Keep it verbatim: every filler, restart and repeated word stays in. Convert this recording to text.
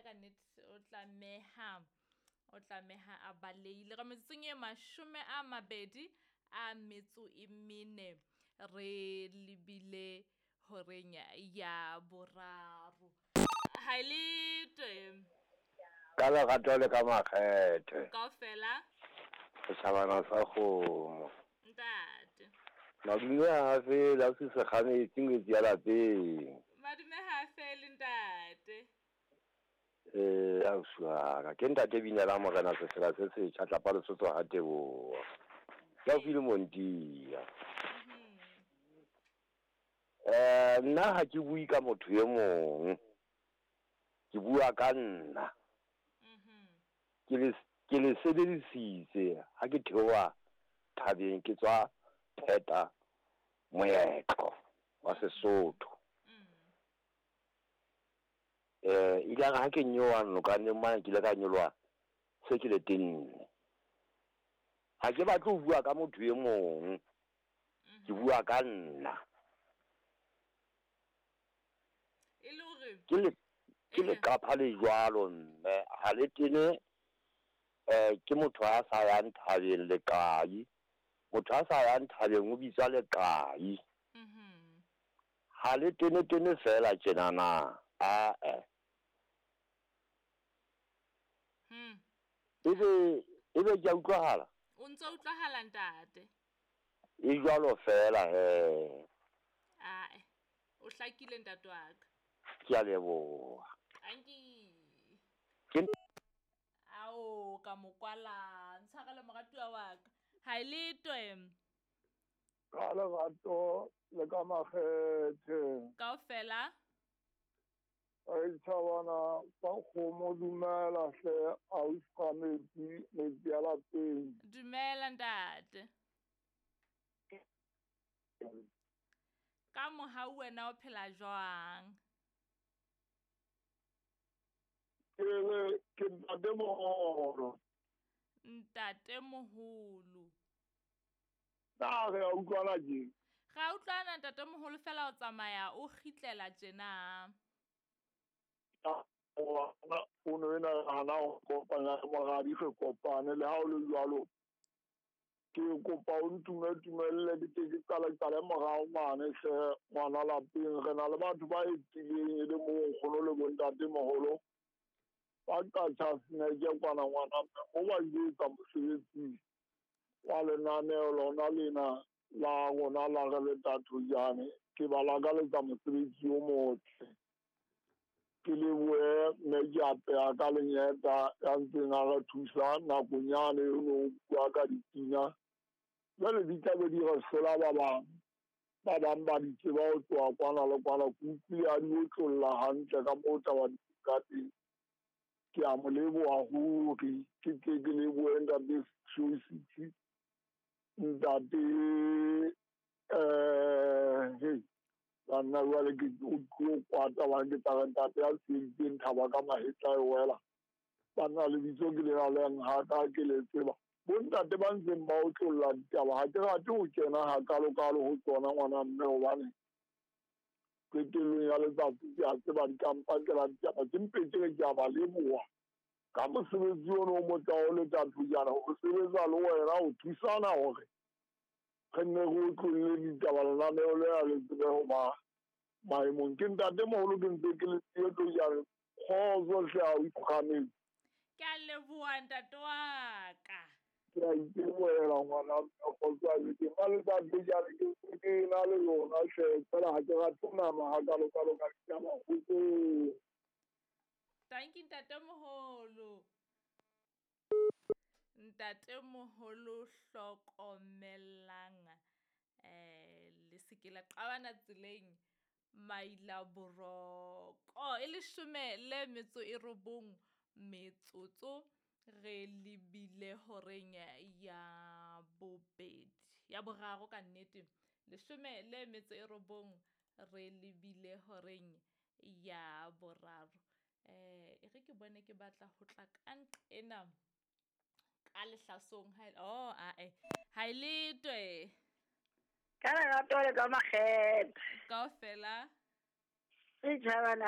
Yena ka nnete o tlameha o tlameha a baleile. Ka metsotsong e mashome a mabedi a metso e mene re lebile horeng ya boraro. Ha le twe ka lerato le ka makgethe kaofela setjhabana sa kgomo. Ntate Madume ha fele a se sekgametsi ngwetsi ya lapeng. Madume ha fele ntate. Eh ausi wa ka ke ntate Binela Morena sefela se setjha tlapa Lesotho ha Teboa. Ke haufi le Montia. Eh nna ha ke bue ka motho e mong. Ke bua ka nna. Ke le ke le sebedisitse ha ke theoha thabeng ke tswa pheta moetlo wa Sesotho. Eh ile ha ke nyowa nokaneng mane ke ile ka nyoloha se ke le tenne. Ha ke batle ho bua ka motho e mong. Ke bua ka nna. E le hore ke le ke le qapha le jwalo mme ha le tene eh ke motho a sa yang thabeng leqai. Motho a sa yang thabeng o bitswa leqai. Mhm. Ha le tene tene fela tjenana. A eh. Hmm. Ebe ebe ke a utlwahala? O ntso utlwahala ntate. E jwalo fela he. Ae. O hlakile ntate wa ka. Ke a leboha. Anki. Ke Ao ka mokwala ntshwarele moratuwa wa ka. Ha le twe ka lerato le ka makgethe kaofela setjhabana sa kgomo dumela hle ausi ka metsi metsi ya lapeng. Dumela ntate. Ka mohau wena o phela jwang? Ke le ke ntate moholo. Ntate moholo. Na re a utlwana tje? Re a utlwana ntate moholo fela o tsamaya o kgitlela tjena. Fono ena hana ho kopanya le moradi re kopane le ha o le jwalo. Ke kopa o ntume tumelle ke tle ke qale qale morao mane hle ngwana lapeng re na le batho ba etileng e le moo nkgono le bontate moholo. Ba qatjha seneke kwana ngwana mme o ba ile etsa mosebetsi wa lenaneo lona lena la rona la re le Thatojaane. Ke ba lakaletsa mosebetsi o motle. Ke lebohe mme ke apeha ka lenyeta ya ntseng a re thusa nakong yane o no bua ka dipina. Jwale di tlabe di re hlola ba bang. Ba bang ba di tseba ho tloha kwana le kwana. Ke utlwile a di otlolla hantle ka moo taba di ka teng. Ke a mo leboha ruri. Ke tle ke lebohe ntate Shositsi, ntate eh hey banna jwale ke o tlo kwata ba ke tla re ntate ya tsheditseng thaba ka mahetla e wela. Banna lebitso ke lena le haka ke le tseba. Bontate ba ntseng ba otlolla ditaba ha ke rate ho kena hakalokalo ho tsona ngwana mme hobane qetellong ya letsatsi ke a tseba dikampakela ditaba ke mpe ke re ke a ba leboha ka mosebetsi ono o motle wa ho le Thatojaana ho sebetsa le wena ho thusana hore re nne re otlolle ditaba lenaneo lena le tsebe ho ba maemong. Ke ntate moholo ke ntse ke le Thatojaana kgotso hle ha o ikgametse. Ke a leboha ntate wa ka. Ke a itebohela ngwana kgotso a ke ba le Thatojaana ke ke na le lona hle fela ha ke rate ho nama hakalokalo ka ditaba kgotsong. Thank you ntate moholo. Ntate moholo hlokomelang eh le se ke la qabana tseleng maila boroko e leshome le metso e robong metsotso re lebile horeng ya bobedi ya boraro ka nnete leshome le metso e robong re lebile horeng ya boraro. Eh e re ke bone ke batla ho tla ka nqena ka lehlasong ha oh ae ha le twe ka lerato le ka makgethe kaofela setjhabana